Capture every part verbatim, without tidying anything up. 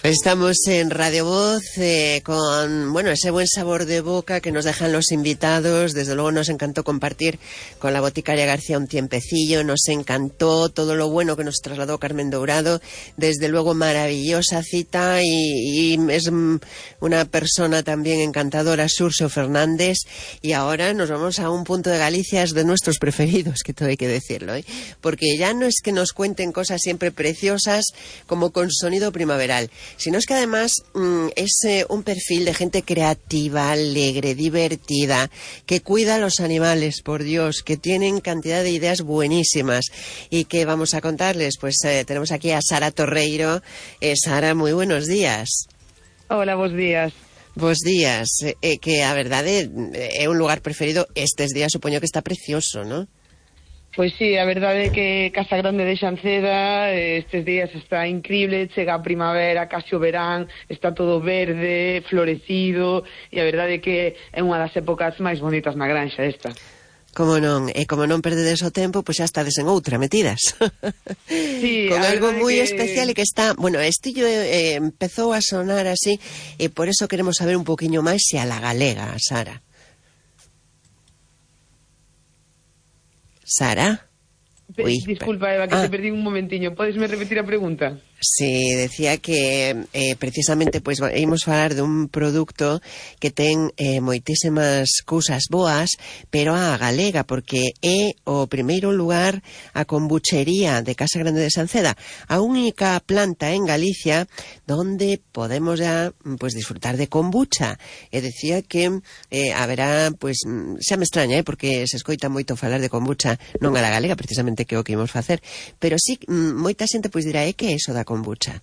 Estamos en Radio Voz eh, con, bueno, ese buen sabor de boca que nos dejan los invitados. Desde luego nos encantó compartir con la boticaria García un tiempecillo, nos encantó todo lo bueno que nos trasladó Carmen Dourado. Desde luego maravillosa cita y, y es una persona también encantadora, Xurxo Fernández. Y ahora nos vamos a un punto de Galicia de nuestros preferidos, que todo hay que decirlo, ¿eh? Porque ya no es que nos cuenten cosas siempre preciosas como con sonido primaveral, sino es que además mmm, es eh, un perfil de gente creativa, alegre, divertida, que cuida a los animales, por Dios, que tienen cantidad de ideas buenísimas y que vamos a contarles. Pues eh, tenemos aquí a Sara Torreiro. Eh, Sara, moi buenos días. Hola, bons días. Bos días. Eh, que a verdade é un lugar preferido estes días, supoño que está precioso, non? Pois sí, a verdade é que Casa Grande de Xanceda estes días está increíble, chega a primavera, casi o verán, está todo verde, florecido, e a verdade é que é unha das épocas máis bonitas na granxa esta. Como non, e como non perdedes o tempo, pois xa estades en outra metidas. Sí, con algo moi que... especial e que está, bueno, estillo eh, empezou a sonar así, e por eso queremos saber un poquinho máis se a la galega, Sara. Sara? Uy, disculpa, Eva, que ah. te perdí un momentiño. Podesme repetir a pregunta? Sí, decía que eh, precisamente pois pues, ímos falar de un produto que ten eh, moitísimas cousas boas, pero a galega, porque é o primeiro lugar a kombuchería de Casa Grande de Xanceda, a única planta en Galicia donde podemos ya pues disfrutar de kombucha. E decía que eh, haberá, pues, xa me extraña, eh, porque se escoita moito falar de kombucha non a la galega, precisamente que o que imos facer, pero sí, moita xente pois dirá, é que é iso da kombucha?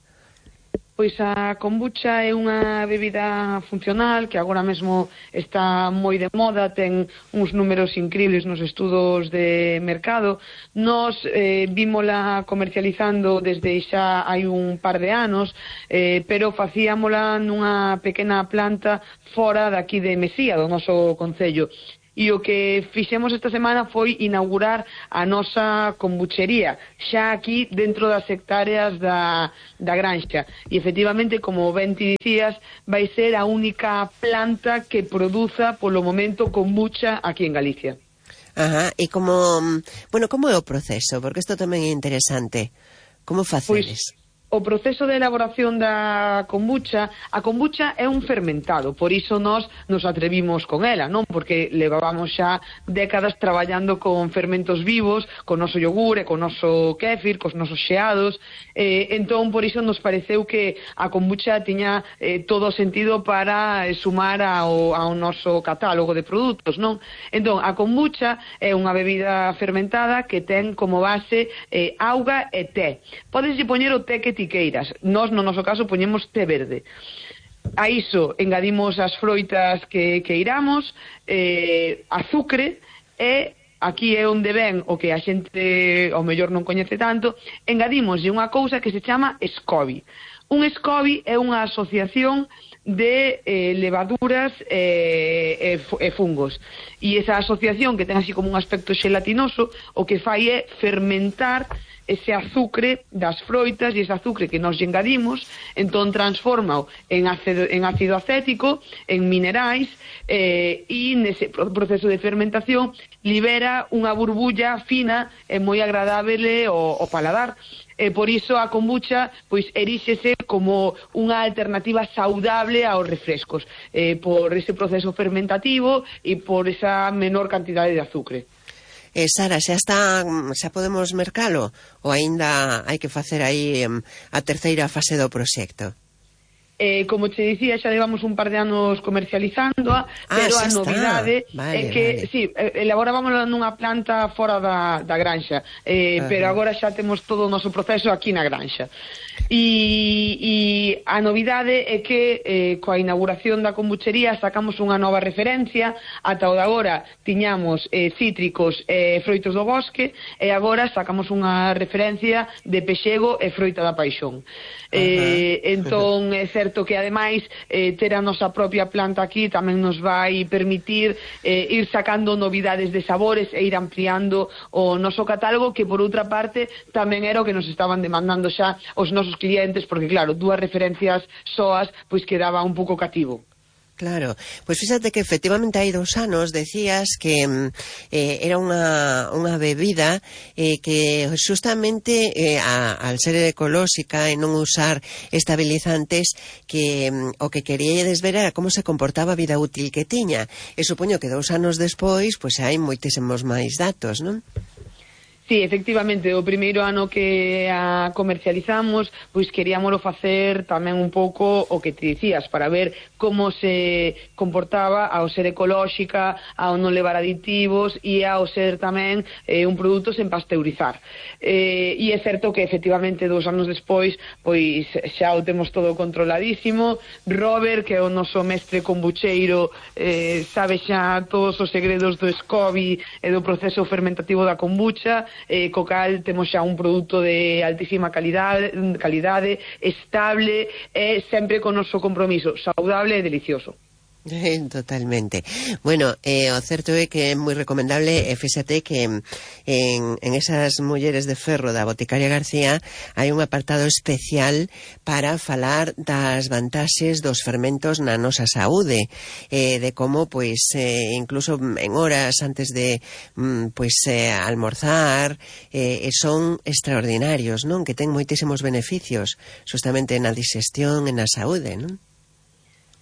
Pois a kombucha é unha bebida funcional que agora mesmo está moi de moda, ten uns números increíbles nos estudos de mercado. Nos eh, vímola comercializando desde xa hai un par de anos, eh, pero facíamola nunha pequena planta fora daqui de Mesía, do noso concello. E o que fixemos esta semana foi inaugurar a nosa kombuchería, xa aquí dentro das hectáreas da, da granxa. E efectivamente, como ben ti dicías, vai ser a única planta que produza polo momento kombucha aquí en Galicia. Ajá, e como, bueno, como é o proceso? Porque isto tamén é interesante. Como facedes? Pois... O proceso de elaboración da kombucha, a kombucha é un fermentado, por iso nós nos atrevimos con ela, non? Porque levábamos xa décadas traballando con fermentos vivos, con noso yogur e con noso kéfir, cos nosos xeados, eh, entón por iso nos pareceu que a kombucha tiña eh, todo o sentido para eh, sumar ao, ao noso catálogo de produtos, non? Entón, a kombucha é unha bebida fermentada que ten como base eh, auga e té. Podeslle poñer o té que tiqueiras. Nós, no noso caso, poñemos té verde. A iso engadimos as froitas que, que iramos, eh, azucre, e aquí é onde ven o que a xente ao mellor non coñece tanto, engadimoslle unha cousa que se chama SCOBY. Un SCOBY é unha asociación de eh, levaduras e eh, eh, fungos. E esa asociación, que ten así como un aspecto xelatinoso, o que fai é fermentar ese azucre das froitas, e ese azucre que nos engadimos, entón transforma en ácido, en ácido acético, en minerais, eh, e nese proceso de fermentación libera unha burbulla fina e moi agradable ao, ao paladar. E por iso a kombucha pois eríxese como unha alternativa saudable aos refrescos, eh, por ese proceso fermentativo e por esa menor cantidade de azucre. Eh, Sara, xa está, xa podemos mercalo ou aínda hai que facer aí um, a terceira fase do proxecto? Eh, como te dicía, xa levamos un par de anos comercializándoa, ah, pero a novidade vale, é que, vale. sí, elaborábamos nunha planta fora da, da granxa, eh, pero agora xa temos todo o noso proceso aquí na granxa. E, e a novidade é que eh, coa inauguración da kombuchería sacamos unha nova referencia. Ata o de agora tiñamos eh, cítricos e eh, froitos do bosque, e agora sacamos unha referencia de pexego e froita da paixón. Eh, entón é certo certo que ademais eh, ter a nosa propia planta aquí tamén nos vai permitir eh, ir sacando novidades de sabores e ir ampliando o noso catálogo, que por outra parte tamén era o que nos estaban demandando xa os nosos clientes, porque claro, dúas referencias soas pois quedaba un pouco cativo. Claro, pois fíxate que efectivamente hai dous anos decías que eh, era unha, unha bebida eh, que justamente eh, a, al ser ecolóxica e non usar estabilizantes, que o que queríades ver era como se comportaba a vida útil que tiña, e supoño que dous anos despois pois hai moitísimos máis datos, non? Sí, efectivamente, o primeiro ano que a comercializamos, pois queríamoslo facer tamén un pouco o que te dicías, para ver como se comportaba ao ser ecolóxica, ao non levar aditivos e ao ser tamén eh, un produto sen pasteurizar. Eh, e é certo que efectivamente dous anos despois, pois xa o temos todo controladísimo. Robert, que é o noso mestre kombucheiro, eh, sabe xa todos os segredos do SCOBY e do proceso fermentativo da kombucha, eh, co cal temos xa un produto de altísima calidade, calidade estable e sempre con noso compromiso, saudable e delicioso. Totalmente. Bueno, eh, o certo é que é moi recomendable, e fíxate que en, en esas mulleres de ferro da Boticaria García hai un apartado especial para falar das vantaxes dos fermentos na nosa saúde, eh, de como, pois, eh, incluso en horas antes de mm, pois, eh, almorzar, eh, son extraordinarios, non? Que ten moitísimos beneficios, justamente na digestión e na saúde, non?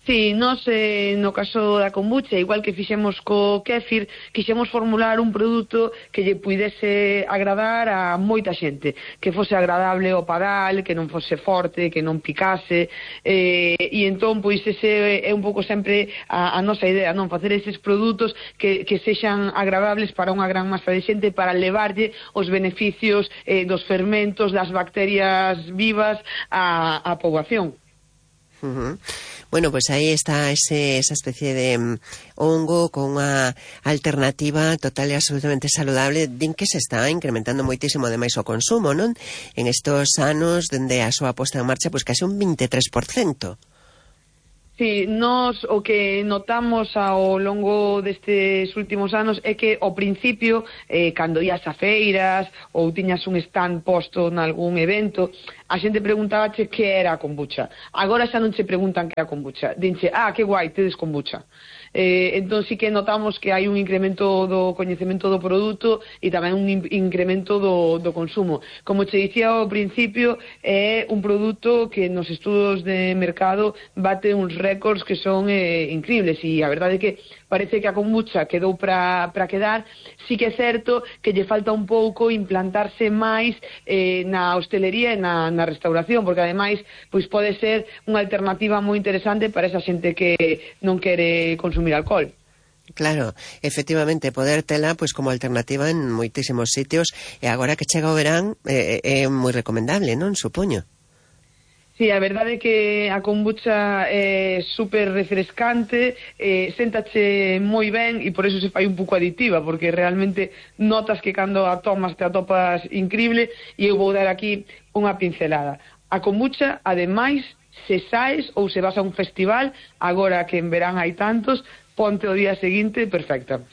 Sí, nós eh, no caso da kombucha, igual que fixemos co kéfir, quixemos formular un produto que lle puidese agradar a moita xente, que fose agradable ao padal, que non fose forte, que non picase, eh, e entón, pois, ese é un pouco sempre a, a nosa idea, non? Facer eses produtos que, que sexan agradables para unha gran masa de xente, para levarlle os beneficios eh, dos fermentos, das bacterias vivas á, á poboación. Uh-huh. Bueno, pues aí está ese, esa especie de um, hongo con unha alternativa total e absolutamente saludable, din que se está incrementando moitísimo ademais o consumo, non? En estos anos, dende a súa posta en marcha, pois case un veintitrés por ciento. Sí, nos o que notamos ao longo destes últimos anos é que ao principio, eh, cando ías a feiras ou tiñas un stand posto nalgún evento, a xente preguntaba che que era a kombucha. Agora xa non che preguntan que é a kombucha, dinche, ah, que guai, tedes kombucha. Eh, entón sí que notamos que hai un incremento do coñecemento do produto e tamén un incremento do, do consumo. Como che dicía ao principio, é un produto que nos estudos de mercado bate uns récords que son eh, increíbles, e a verdade é que parece que a kombucha quedou para para quedar. Sí que é certo que lle falta un pouco implantarse máis eh, na hostelería e na, na restauración, porque ademais pois pode ser unha alternativa moi interesante para esa xente que non quere consumir alcohol. Claro, efectivamente, poder tela pois como alternativa en moitísimos sitios, e agora que chega o verán é, é moi recomendable, non? Supoño. Sí, a verdade é que a kombucha é super refrescante, eh, séntache moi ben e por eso se fai un pouco aditiva, porque realmente notas que cando a tomas te atopas increíble. E eu vou dar aquí unha pincelada. A kombucha, ademais, se saes ou se vas a un festival, agora que en verán hai tantos, ponte o día seguinte perfecta.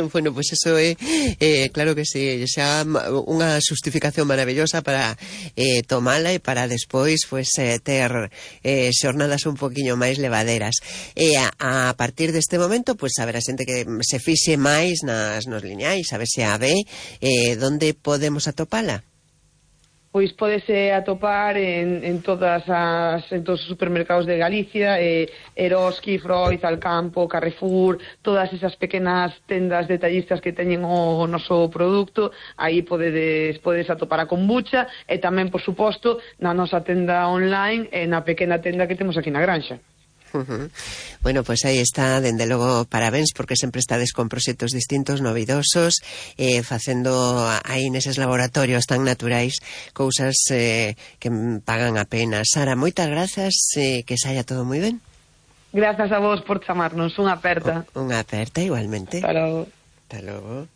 Bueno, pois pues eso é, eh, claro que sí, xa unha justificación maravillosa para eh, tomala e para despois pues, eh, ter eh, xornadas un poquinho máis levaderas. E a, a partir deste momento, pues, a ver a xente que se fixe máis nas nos lineais, a ver se a ve, eh, donde podemos atopala? Pois pódese atopar en, en todas as en todos os supermercados de Galicia, eh, Eroski, Freud, Alcampo, Carrefour, todas esas pequenas tendas detallistas que teñen o, o noso produto. Aí podedes, podedes atopar a kombucha, e tamén, por suposto, na nosa tenda online e na pequena tenda que temos aquí na Granxa. Uh-huh. Bueno, pues aí está, dende logo, parabéns, porque sempre estades con proxectos distintos, novidosos, eh, facendo aí neses laboratorios tan naturais cousas eh, que pagan a pena. Sara, moitas grazas, eh, que saia todo moi ben. Grazas a vos por chamarnos, unha aperta. Unha aperta, igualmente. Hasta logo. Hasta logo.